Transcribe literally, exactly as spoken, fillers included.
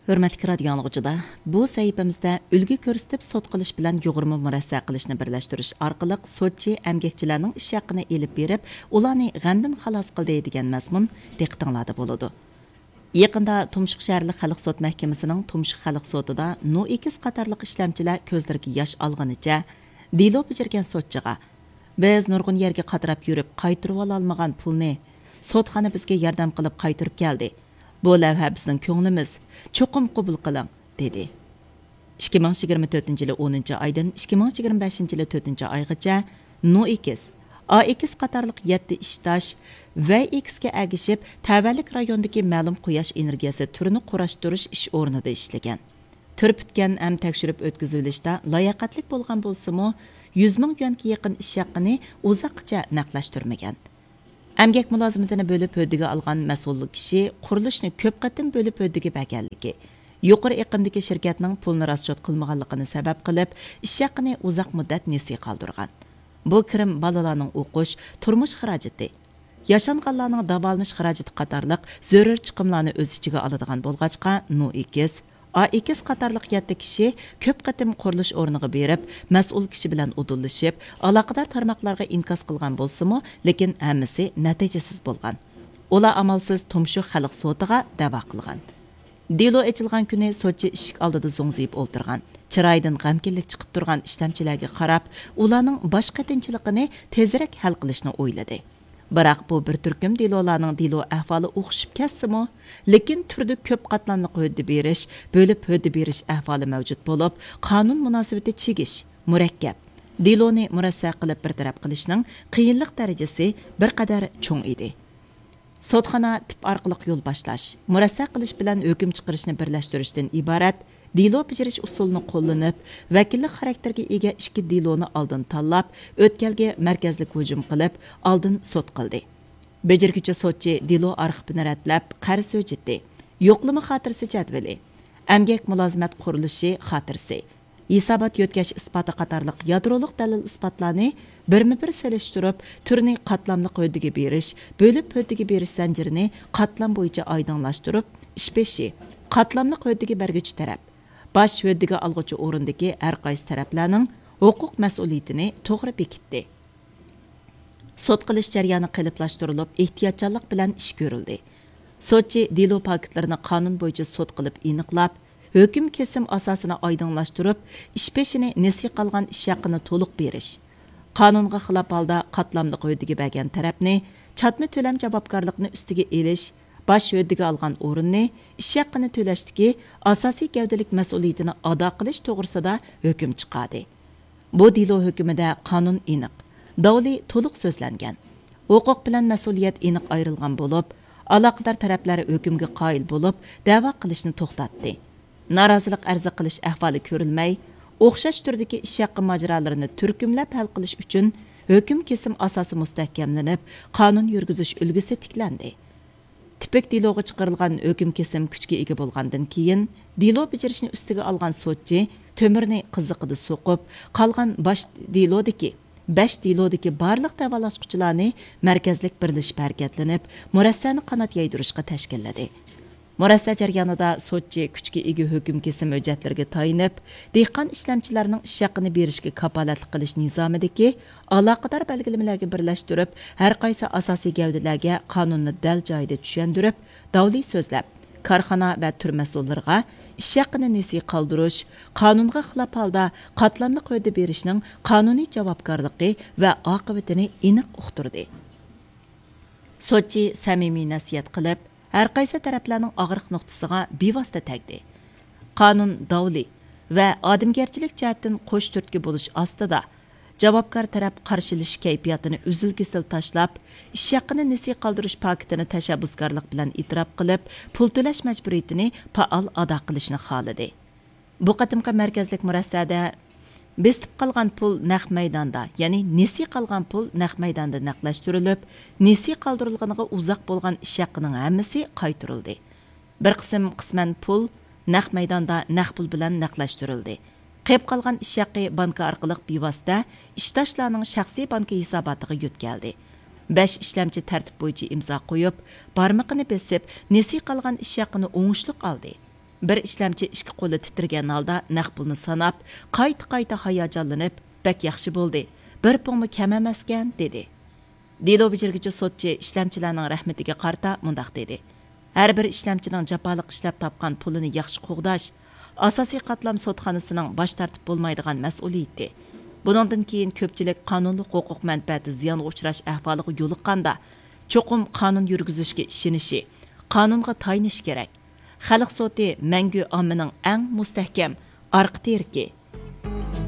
ھۆرمەتلىك رادىيو ئاڭلىغۇچىلار، بۇ سەھىپىمىزدە ئۈلگە كۆرسىتىپ سوت قىلىش بىلەن يۇغۇرما مۇرەسسە قىلىشنى بىرلەشتۈرۈش ئارقىلىق سوتچى ئەمگەكچىلەرنىڭ ئىش ھەققىنى ئېلىپ بېرىپ، ئۇلارنى غەمدىن خالاس قىلدى دېگەن مەزمۇن دىققىتىڭلاردا بولىدۇ. يېقىندا تۇمشۇق شەھەرلىك خەلق سوت مەھكىمىسىنىڭ تۇمشۇق خەلق سوتىدا نوئېكس قاتارلىق ئىشلەمچىلەر كۆزلىرىگە ياش ئالغىنىچە دېلو بېجىرگەن سوتچىغا، بىز نۇرغۇن يەرگە قاتراپ يۈرۈپ قايتۇرۇۋالالمىغان پۇلنى سوتخانا بىزگە ياردەم قىلىپ قايتۇرۇپ كەلدى. بۇ لەۋھە بىزنىڭ كۆڭلىمىز، چوقۇم قوبۇل قىلىڭ، دېدى. ئىككى مىڭ يىگىرمە تۆتىنچى يىلى ئونىنچى ئايدىن ئىككى مىڭ يىگىرمە بەشىنچى يىلى تۆتىنچى ئايغىچە نوئېكس، ئائېكس قاتارلىق يەتتە ئىشداش ۋەي ئېكسكە ئەگىشىپ، تەۋەلىك رايوندىكى مەلۇم قۇياش ئېنېرگىيەسى تۈرىنى قۇراشتۇرۇش ئىش ئورنىدا ئىشلىگەن. تۈر پۈتكەن ھەم تەكشۈرۈپ ئۆتكۈزۈۋېلىشتا لاياقەتلىك بولغان بولسىمۇ، يۈز مىڭ يۈەنگە يېقىن ئىش ھەققىنى ئۇزاققىچە نەقلەشتۈرمىگەن. ئەمگەك مۇلازىمىتىنى بۆلۈپ ھۆددىگە ئالغان مەسئۇل كىشى قۇرۇلۇشنى كۆپ قېتىم بۆلۈپ ھۆددىگە بەرگەنلىكى، يۇقىرى ئېقىمدىكى شىركەتنىڭ پۇلنى راسچوت قىلمىغانلىقىنى سەۋەب قىلىپ، ئىش ھەققىنى ئۇزاق مۇددەت نېسى قالدۇرغان. بۇ كىرىم بالىلارنىڭ ئوقۇش، تۇرمۇش خىراجىتى، ياشانغانلارنىڭ داۋالىنىش خىراجىتى قاتارلىق زۆرۈر چىقىملارنى ئۆز ئىچىگە ئالىدىغان بولغاچقا، نوئېكس، ئائېكس قاتارلىق يەتتە كىشى كۆپ قېتىم قۇرۇلۇش ئورنىغا بېرىپ، مەسئۇل كىشى بىلەن ئۇدۇللىشىپ، ئالاقىدار تارماقلارغا ئىنكاس قىلغان بولسىمۇ، لېكىن ھەممىسى نەتىجىسىز بولغان. ئۇلار ئامالسىز تۇمشۇق خەلق سوتىغا دەۋا قىلغان. دېلو ئېچىلغان كۈنى سوتچى ئىشىك ئالدىدا زوڭزىيىپ ئولتۇرغان، چىرايىدىن غەمكىنلىك چىقىپ تۇرغان ئىشلەمچىلەرگە قاراپ، ئۇلارنىڭ باش قېتىنچىلىقىنى تېزرەك ھەل قىلىشنى ئويلىدى. بىراق بۇ بىر تۈركۈم دېلولارنىڭ دېلو ئەھۋالى ئوخشىشىپ كەتسىمۇ، لېكىن تۈردە كۆپ قاتلاملىق ھۆددە بېرىش، بۆلۈپ ھۆددە بېرىش ئەھۋالى مەۋجۇت بولۇپ، قانۇن مۇناسىۋىتى چىگىش، مۇرەككەپ. دېلونى مۇرەسسە قىلىپ بىر تەرەپ قىلىشنىڭ قىيىنلىق دەرىجىسى بىر قەدەر چوڭ ئىدى. سوتخانا تىپ ئارقىلىق يول باشلاش، مۇرەسسە قىلىش بىلەن ھۆكۈم چىقىرىشنى بىرلەشتۈرۈشتىن ئىبارەت دېلو بېجىرىش ئۇسۇلىنى قوللىنىپ، ۋەكىللىك خاراكتېرىگە ئىگە ئىككى دېلونى ئالدىن تاللاپ، ئۆتكەلگە مەركەزلىك ھۇجۇم قىلىپ، ئالدىن سوت قىلدى. بېجىرگۈچى سوتچى دېلو ئارخىپىنى رەتلەپ، قەرز ھۆججىتى، يوقلىما خاتىرىسى جەدۋىلى، ئەمگەك مۇلازىمەت قۇرۇلۇشى خاتىرىسى، ھېسابات يۆتكەش ئىسپاتى قاتارلىق يادرولۇق دەلىل-ئىسپاتلارنى بىرمۇبىر سېلىشتۇرۇپ، تۈرنى قاتلاملىق ھۆددىگە بېرىش، بۆلۈپ ھۆددىگە بېرىش زەنجىرىنى قاتلام بويىچە ئايدىڭلاشتۇرۇپ، ئىش بېشى، قاتلاملىق ھۆددىگە بەرگۈچى تەرەپ، باش ھۆددىگە ئالغۇچى ئورۇندىكى ھەرقايسى تەرەپلەرنىڭ ھوقۇق مەسئۇلىيىتىنى توغرا بېكىتتى. سوت قىلىش جەريانى قېلىپلاشتۇرۇلۇپ، ئېھتىياتچانلىق بىلەن ئىش كۆرۈلدى. سوتچى دېلو پاكىتلىرىنى قانۇن بويىچە سوت قىلىپ ئېنىقلاپ، ھۆكۈم كېسىم ئاساسىنى ئايدىڭلاشتۇرۇپ، ئىش بېشىنى نېسى قالغان ئىش ھەققىنى تولۇق بېرىش، قانۇنغا خىلاپ ھالدا قاتلاملىق ھۆددىگە بەرگەن تەرەپنى چاتما تۆلەم جاۋابكارلىقىنى ئۈستىگە ئېلىش، باش ھۆددىگە ئالغان ئورۇننى ئىش ھەققىنى تۆلەشتىكى ئاساسىي گەۋدىلىك مەسئۇلىيىتىنى ئادا قىلىش توغرىسىدا ھۆكۈم چىقاردى. بۇ دېلو ھۆكمىدە قانۇن ئېنىق، داۋلى تولۇق سۆزلەنگەن. ھوقۇق بىلەن مەسئۇلىيەت ئېنىق ئايرىلغان بولۇپ، ئالاقىدار تەرەپلەر ھۆكۈمگە قايىل بولۇپ، دەۋا قىلىشنى توختاتتى. نارازىلىق ئەرزى قىلىش ئەھۋالى كۆرۈلمەي، ئوخشاش تۈردىكى ئىش ھەققى ماجىرالىرىنى تۈركۈملەپ ھەل قىلىش ئۈچۈن ھۆكۈم كېسىم ئاساسى مۇستەھكەملىنىپ، قانۇن يۈرگۈزۈش ئۈلگىسى تىكلەندى. تىپىك دېلوغا چىقىرىلغان ھۆكۈم كېسىم كۈچكە ئىگە بولغاندىن كېيىن، دېلو بېجىرىشنى ئۈستىگە ئالغان سوتچى تۆمۈرنى قىزىقىدا سوقۇپ، قالغان باش دېلودىكى، بەش دېلودىكى بارلىق دەۋالاشقۇچىلارنى مەركەزلىك بىرلىشىپ ھەرىكەتلىنىپ، مۇرەسسەنى قانات يايدۇرۇشقا تەشكىللىدى. مۇرەسسە جەريانىدا سوتچى كۈچكە ئىگە ھۆكۈم كېسىم ھۆججەتلىرىگە تايىنىپ، دېھقان ئىشلەمچىلەرنىڭ ئىش ھەققىنى بېرىشكە كاپالەتلىك قىلىش نىزامىدىكى ئالاقىدار بەلگىلىمىلەرگە بىرلەشتۈرۈپ، ھەرقايسى ئاساسىي گەۋدىلەرگە قانۇننى دەل جايىدا چۈشەندۈرۈپ، داۋلى سۆزلەپ، كارخانا ۋە تۈر مەسئۇللىرىغا ئىش ھەققىنى نېسى قالدۇرۇش، قانۇنغا خىلاپ ھالدا قاتلاملىق ھۆددە بېرىشنىڭ قانۇنىي جاۋابكارلىقى ۋە ئاقىۋىتىنى ئېنىق ئۇقتۇردى. سوتچى سەمىمىي نەسىھەت قىلىپ، ھەرقايسى تەرەپلەرنىڭ ئاغرىق نۇقتىسىغا بىۋاسىتە تەگدى. قانۇن داۋلى ۋە ئادەمگەرچىلىك جەھەتتىن قوش تۈرتكە بولۇش ئاستىدا، جاۋابكار تەرەپ قارشىلىشىش كەيپىياتىنى ئۈزۈل-كېسىل تاشلاپ، ئىش ھەققىنى نېسى قالدۇرۇش پاكىتىنى تەشەببۇسكارلىق بىلەن ئېتىراپ قىلىپ، پۇل تۆلەش مەجبۇرىيىتىنى پائال ئادا قىلىشنى خالىدى. بۇ قېتىمقى مەركەزلىك مۇرەسسەدە بېسىتىپ قالغان پۇل نەق مەيداندا، يەنى نېسى قالغان پۇل نەق مەيداندا نەقلەشتۈرۈلۈپ، نېسى قالدۇرۇلغىنىغا ئۇزاق بولغان ئىش ھەققىنىڭ ھەممىسى قايتۇرۇلدى. بىر قىسىم قىسمەن پۇل نەق مەيداندا نەق پۇل بىلەن نەقلەشتۈرۈلدى. قېلىپ قالغان ئىش ھەققى بانكا ئارقىلىق بىۋاسىتە ئىشداشلارنىڭ شەخسىي بانكا ھېساباتىغا يۆتكەلدى. بەش ئىشلەمچى تەرتىپ بويىچە ئىمزا قويۇپ، بارمىقىنى بېسىپ، نېسى قالغان ئىش ھەققىنى ئوڭۇشلۇق ئالدى. بىر ئىشلەمچى ئىككى قولى تىترىگەن ھالدا نەق پۇلنى ساناپ، قايتا-قايتا ھاياجانلىنىپ، بەك ياخشى بولدى، بىر پۇڭمۇ كەم ئەمەسكەن، دېدى. دېلو بېجىرگۈچى سوتچى ئىشلەمچىلەرنىڭ رەھمىتىگە قارىتا مۇنداق دېدى: ھەر بىر ئىشلەمچىنىڭ جاپالىق ئىشلەپ تاپقان پۇلىنى ياخشى قوغداش ئاساسىي قاتلام سوتخانىسىنىڭ باش تارتىپ بولمايدىغان مەسئۇلىيىتى. بۇنىڭدىن كېيىن كۆپچىلىك قانۇنلۇق ھوقۇق مەنپەئەتى زىيانغا ئۇچراش ئەھۋالىغا يولۇققاندا، چوقۇم قانۇن يۈرگۈزۈشكە ئىشىنىشى، قانۇنغا تايىنىشى كېرەك. خەلق سوتى مەڭگۈ ئاممىنىڭ ئەڭ مۇستەھكەم ئارقا تىرىكى.